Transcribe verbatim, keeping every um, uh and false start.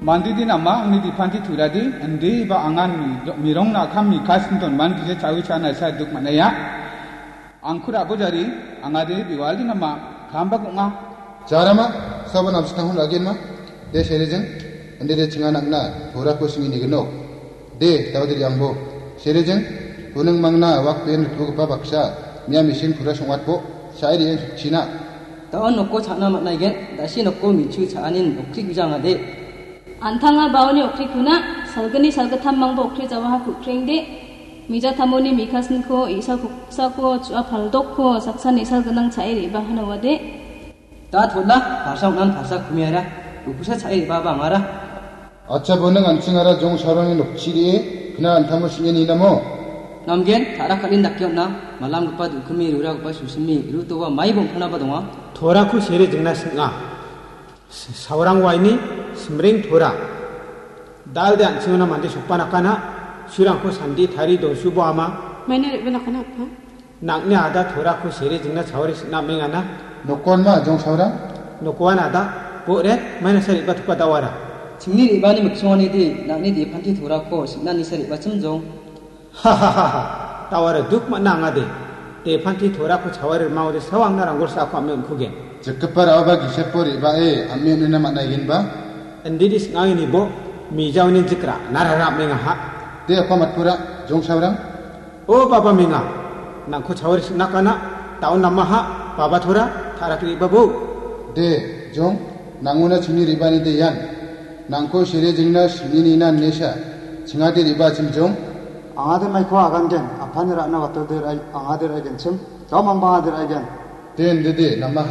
Mandidi nama angni dipanti turadi, indi ba angan mi-, mirongna akam mikasin don man gije chawi chana sa duk manaya. Angkur abo jari, angade biwaldi nama, kamba kunga. Jarama, sabo namsitang hun agen ma. De serejeng, indi de chinga nakna, tora ko simi ni genok. De, tau de yang bo. Serejeng, gunung mangna, wak pen ritbo gepa baksa, mia misin pura songwat bo, sai de yang sukchina. Daon nokko cha·na man·aigen, dasi nokko minchu cha·anin nokri gujangade. Antanga baoni okrikuna, salgni salgittam mangba okri jawaha kukrengde. Mija tamoni mikasinko, isa koksako, chu·a paldokko, saksa nisal gnang cha·e re·ba hanawade. Da tona, pasa ong·an pasa kumiara, ukusa cha·e re·baba angara. Acha bonang an·chingara jong saroni nokchi de, kna antamo sing·e ninamo? Namgen, ta·ra ka·in dake on·a, malamgipa dukimi, ruragipa susimi, rutoba mai bongpanaba donga. Torako sere jingna sing·a. S-, saurang waini simring tora. Dal de an·chingona mande sokba nakana, surangko sandi tari donsubo ama. Maina re·ba nakana, apa? Nang·ni ada torako sere jingna chawari sing·na mengana. Nokon ma, jong saurang? Nokoan ada, bo re, maina sa re·ba toka dawara. Chingni re·bani miksongani di, nang·ni depanti torako sing·na nisa re·bachim jong. Hahaha, tawara duk man·a angade. Depanti torako chawari rimangode sao angna ranggolsa ako ame on·kugen. Jikgipa ra·oba gisepo re·bae ame on·ina man·aigenba? Indidi sing·angini bo, mijaoni jikra, narara amengaha. De apa matpura, jong saurang? O baba menga, nangko chawari sing·nakana, taon namaha, baba tora, tarak re·babo. De, jong, nangona chingni re·bani de ian. Nangko sere jingna sing·nina nesa, chingade re·bachim jong. Angade maiko agangen, apani ra·na watode ra-, angade ra·igenchim, jom amba angade ra·igen. Den dede, nama